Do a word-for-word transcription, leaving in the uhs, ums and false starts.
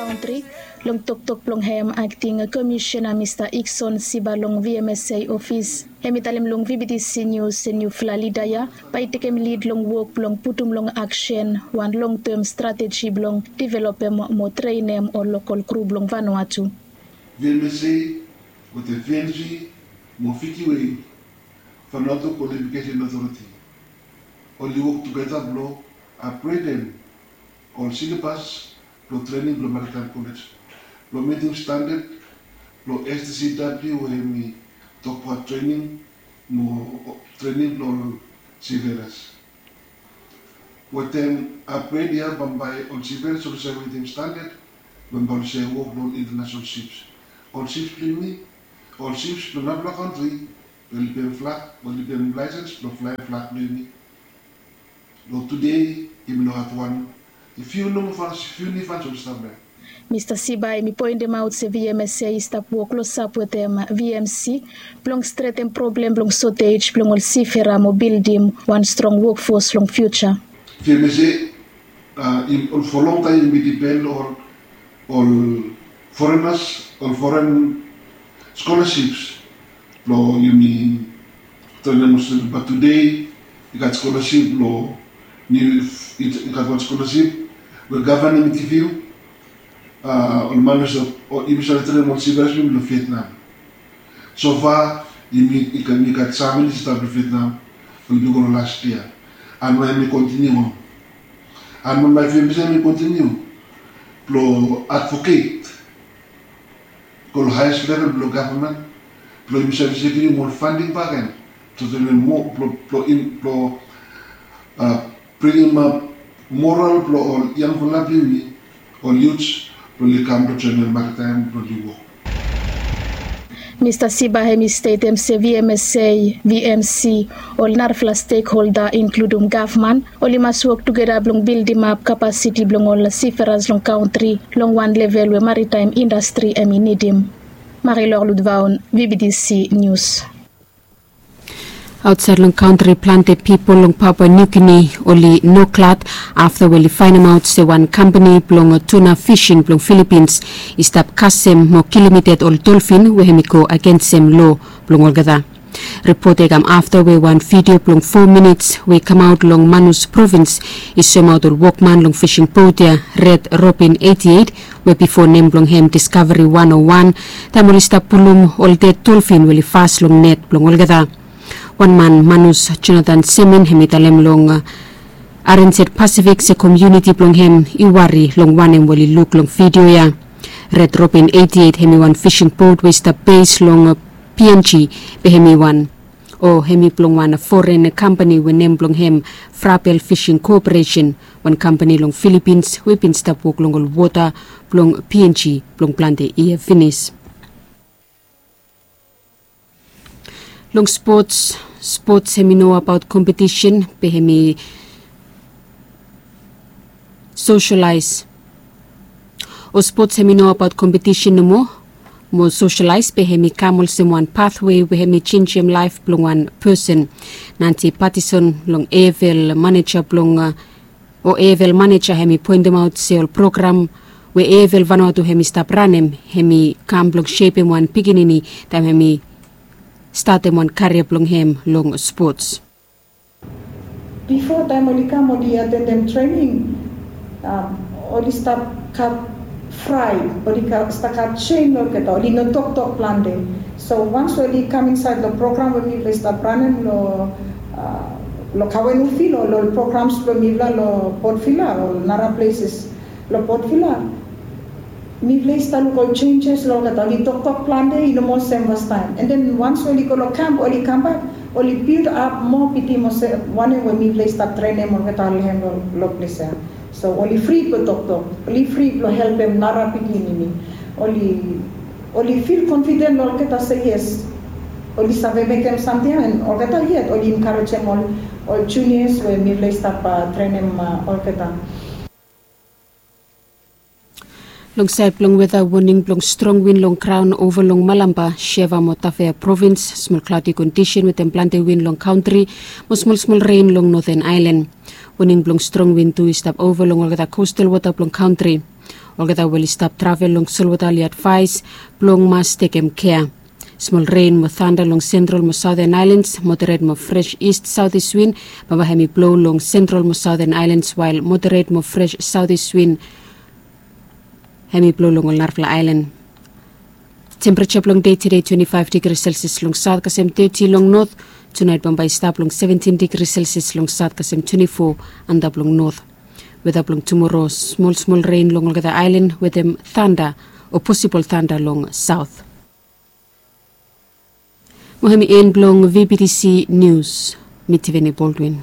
Kantri. Long toktok blong hem, akting komisiona mista Ikson Siba long V M S A ofis, hem i talem long V B T C Nius se niufala lida ya bae i tekem lid long wok blong putum long aksen wan longtem strateji blong developem mo trenem ol lokol gru blong Vanuatu. V M S A wetem V N G mo Fiji Wave, Vanuatu Qualification Authority, oli wok tugeta blong apgredem ol silabas blong trening blong Maritime College blong mitim standad blong S T C W we hem i tokbaot trening mo trening blong ol seafarers. Wetem apgred ya bambae ol seafarers oli save mitim standad bambae oli save wok long ol international ships. Ol ships blong yumi, ol ships blong narafala kantri we oli pem flag, we oli pem laesens blong flaem flag blong yumi. Long tude yumi no gat wan, i fiu nomo fans, fiu niu fans oli stap ya. Mista Siba hem i poendemaot se V M S A i stap wok klosap wetem V M C blong stretem problem blong sotej blong ol sifera mo bildim wan strong wokfos long fiuja. V M S A, a, ol fo longtaem yumi dipen long ol, ol forenas, ol foren skolarships blong yumi trenem ol student, bat tude i gat skolaship blong niu, i gat wan skolaship we gavman hem i givim, a, ol man we save, yumi save trenem ol seafarers blong Vietnam. Sofa yumi i gat, yumi gat seven i stap long Vietnam blong i go long las yia. An nao hem i kontiniu on. An nao V M S A hem i kontiniu blong advoket go long haes level blong gavman blong yumi save sekiurim ol fanding bakegen blong trenem moa, blong, blong, blong bringim ap moral blong ol yangfala blong yumi, ol youths blong oli kam blong joenem maritaem blong oli wok. Mista Siba hem i stetem se V M S A, V M C, ol narafala stekholda inkludim gavman, oli mas wok tugeta blong bildimap kapasiti blong ol siferas long kantri long wan level we maritaem indastri hem i nidim. Marilor Ludvaon, V B T C Nius. Aotsaed long kantri, plante pipol long Papua Niu Gini oli no glad afta we oli faenemaot se wan kampani blong tuna fising blong Filipins i stap kasem mo kilim ded ol dolfin we hem i go agensem loa blong olgeta. Ripot ya i kam afta we wan vidio blong fo minits we i kamaot long Manus provins i soemaot ol wokman long fising bot ya, Red Robin eighty-eight, we bifo nem blong hem Discovery one oh one, taem oli stap pulum ol ded dolfin we oli fas long net blong olgeta. Wan man, Manus Jonathan Semin, hem i talem long, a, R N Z Pacific se komuniti blong hem i wari long wanem we oli luk long vidio ya. Red Robin eighty-eight hem i wan fising bot we i stap bes long, a, P N G, be hem i wan, o hem i blong wan foren kampani we nem blong hem Frabel Fishing Corporation, wan kampani long Filipins we i bin stap wok long ol wota blong P N G blong plante yia finis. Long spots, spots hem i no abaot kompetisen, be hem i soselaes. O spots hem i no abaot kompetisen nomo mo soselaes, be hem i kam olsem wan pathwe we hem i jenjem laef blong wan pesen. Nancy Patterson long A F L maneja blong, a, o A F L maneja hem i poentemaot se ol program we A F L Vanuatu hem i stap ranem, hem i kam blong sepem wan pikinini taem hem i statem wan karia blong hem long spots. Bifo taem oli kam oli atendem trening, a, oli stap gat fraet, oli stap gat sem olgeta, oli no toktok plante. So wans oli kam insaed long program we mifala i stap ranem long, a, long Kawenufil o long programs blong mifala long Port Vila o nara pleses long Port Vila, mifala i stap luk ol jenjes long olgeta, oli toktok plante, i no moa sem fastaem. An den wans oli go long kamp, oli kambak, oli bildim ap moa pitim olsem wanem we mifala i stap trenem olgeta long hem long ples ya. So oli fri blong toktok, oli fri blong helpem nara pikinini. Oli, oli fil konfiden long olgeta se yes, oli save mekem samting ya, an olgeta yet oli enkarejem ol, ol junias we mifala i stap, a, trenem, a, olgeta. Long saed blong weta, woning blong strong win long graon ova long Malampa, Shefa mo Tafea provins, smol klaodi kondisen wetem plante win long kantri mo smolsmol ren long Noten Aelan. Woning blong strong win tu i stap ova long olgeta kostal wota blong kantri. Olgeta we oli stap travel long solwota oli advaes blong mas tekem kea. Smol ren mo tanda long sentral mo saoten aelans, moderet mo fres ist saotis win, bambae hem i blo long sentral mo saoten aelans, wael moderet mo fres saotis win hem i blo long ol narafala aelan. Tempereja blong dei tede twenti faef digri selsias long saot kasem teti long not. Tunaet bambae i stap long seventin digri selsias long saot kasem twenti fo antap long not. Weta blong tumoro, smol smol ren long olgeta aelan wetem tanda o posibol tanda long saot. Mo hem i en blong vbtc nius. Mi tiveni boldwin.